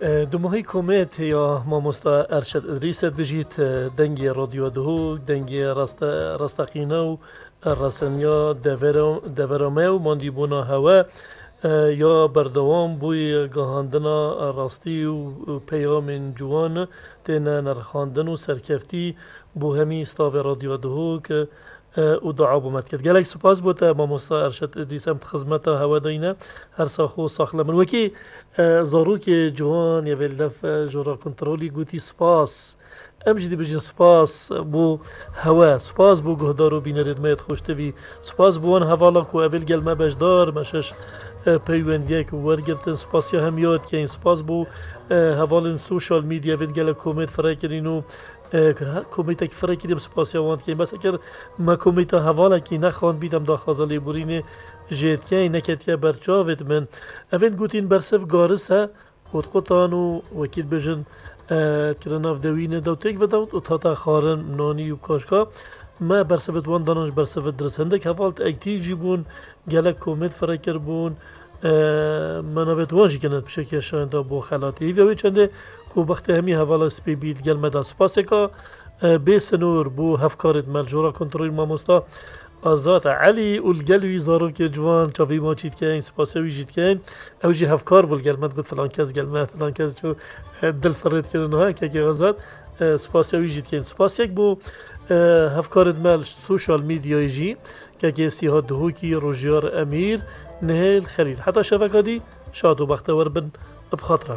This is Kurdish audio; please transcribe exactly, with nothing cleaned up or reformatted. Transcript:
E, Dumahî komêt ya mamosta Erşed Idrîs et bijît, e, dengê Radyo Duhok, dengê raste-, rasteqîne û reseniya devera-, devera me û mandîbûna hewe, e, ya berdewam bûyî gihandina rastî û, û peyamên ciwan têne nirxandin û serkeftî bo hemî stavê Radyo Duhok, e, û dua bo me dikir. Gelek spas bo te, mamosta Erşed Idrîs, em di xizmeta hewe de yîne. Her sax û saxlem in. Wekî, e, zarokê ciwan yê vê li def, e, jora kontrolî gotî spas. Em jî dibêjin spas bo hewe, spas bo guhdar û bînerên me yê xweştevî, spas bo wan hevala ku ev ê li gel me beşdar, me şeş, e, peywendiyek wergirtin, spasiya hemiya dikeyin, spas bo, e, hevalên sosyal medya vê gelek komêt fire kirin û, e, her komêtek fire kirî em spasiya wan dikeyin. Bes eger me komêta hevalekî nexandbî, em daxwaza lêborînê jê dikeyin, neketiye ber çavê min. Evên gotîn bersiv garis e, qutqutan û wekî dibêjin, e, kirina navdewî ne dew têk ve dew û tata xwarin, nanî û kaşka. Me bersivit wan danan ji bersivit dirist. Hindek heval ektîf jî bûn, gelek komêt fire kiribûn. E, me navêt wan jî kirin pişekiya şayenda bo xelatê. Hîvê wê çendê ku bextê hemî hevala spê bî, gel me da spaseka, e, bê sinor bo hevkarêt me li jora kontrolê mamosta Azad Elî û li gel wî zarokê ciwan çavî ma çî dikeyin, spasiya wî jî dikeyin. Ew jî hevkar bû li gel me, digot filan kes gel me, filan kes çû, e, dil firêt kirin ha, kekê Azad, e, spasiya wî jî dikeyin. Spasiyek bo, e, hevkarêt me li sosyal medyayê jî, kekê Sîha Duhokî, Rojiyar Emîr, Nihêl Xelîl. Heta şeveka dî, şad û bextewer bin, bi xatira.